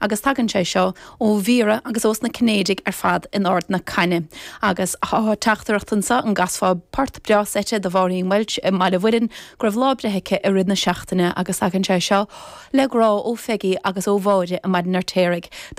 Agus tagann sé seo ó Mhíra agus ós na Cinnéidigh ar fad in Ard na Caithne. Agus tá teachtaireacht anso an gcasfá port breá seite do Mháirín Walsh i mBaile Mhuirinn go raibh lá breithe aici i rith na seachtaine agus tagann sé seo le grá ó Pheigí agus ó Mháire i mBaile an Fheirtéaraigh.